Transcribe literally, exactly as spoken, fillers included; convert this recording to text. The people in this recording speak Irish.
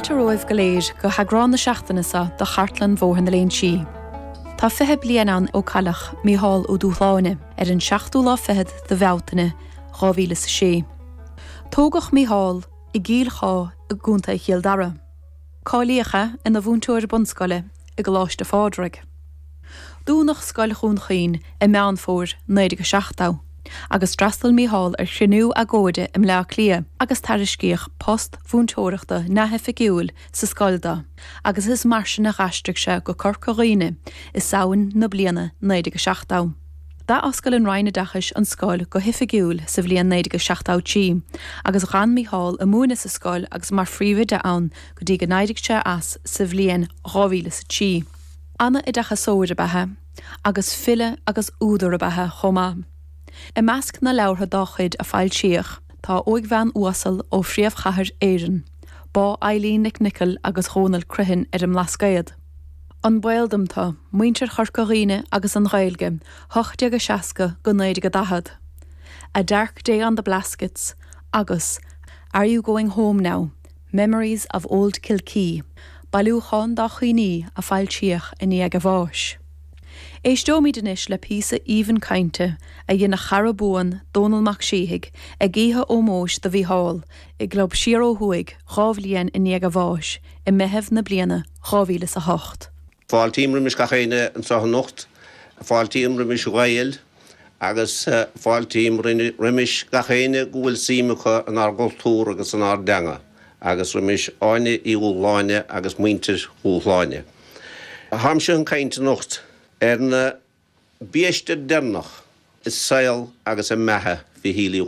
Fáilte romhaibh go léir go heagrán na seachtaine seo de Chartlann Bhóthar na Léinsí. Tá fiche bliain ann ó cailleadh Mícheál Ó Dúshláine ar an seachtú lá fichead de Bhealtaine dhá mhíle is a sé. Tógadh Mícheál i gCill Chá i gContae Chill Dara. Cáilíodh é ina mhúinteoir bunscoile i gColáiste Phádraig. Dúnadh Scoil Dhún Chaoin i Meán Fómhair naoi déag seachtó, agus d'fhreastail Mícheál ar chruinniú agóide i mBleá Cliath agus tairiscíodh post mhúinteoireachta neamhoifigiúil sa scoil dó, agus is mar sin a d'aistrigh sé go Corca Dhuibhne i Samhain na bliana naoi déag seachtó. D'athoscail an Roinn Oideachais an scoil go hoifigiúil sa bhliain naoi déag seachtó trí, agus d'fhan Mícheál ag múineadh sa scoil agus mar phríomhoide ann go dtí go n-éirigh sé as sa bhliain dhá mhíle is a trí. An-oideachasóir ab ea é, agus file agus údar ab ea é chomh maith. I measc na leabhartha dá chuid a foilsíodh tá Óigbhean Uasal ó Phríomhchathair Éireann, Bá Eileen Nic Niocaill agus Dhónal Criomhthain ar an mBlascaod. An Baol Dom Tú, Muintir Chorca Dhuibhne agus an Ghaeilge, ocht déag a seasca go naoi déag a daichead. A Dark Day on the Blaskets agus Are You Going Home Now? Memories of Old Kilkee, bailiúchán dá chuimhní a foilsíodh i ndiaidh a bháis. Éisteoimid anois le píosa aoibhinn cainte a dhein a chara buan Dónall Mac Síthigh ag oíche ómóis do Mhícheál i gClub Siar Ó Thuaidh dhá bhliain i ndiaidh a bháis i Meitheamh na bliana dhá mhíle is a hocht. Fáiltím roimis gach éinne anseo anocht, fáiltím roimis Ghaeil agus fáiltím roimis gach éinne go bhfuil suim acu inár gcultúr agus inár dteanga, agus roimis Áine Uí Dhúshláine agus muintir Dhúshláine. Táimse chun caint anocht ar na biaiste deireanach i saol agus i mbeatha Mhichíl Uí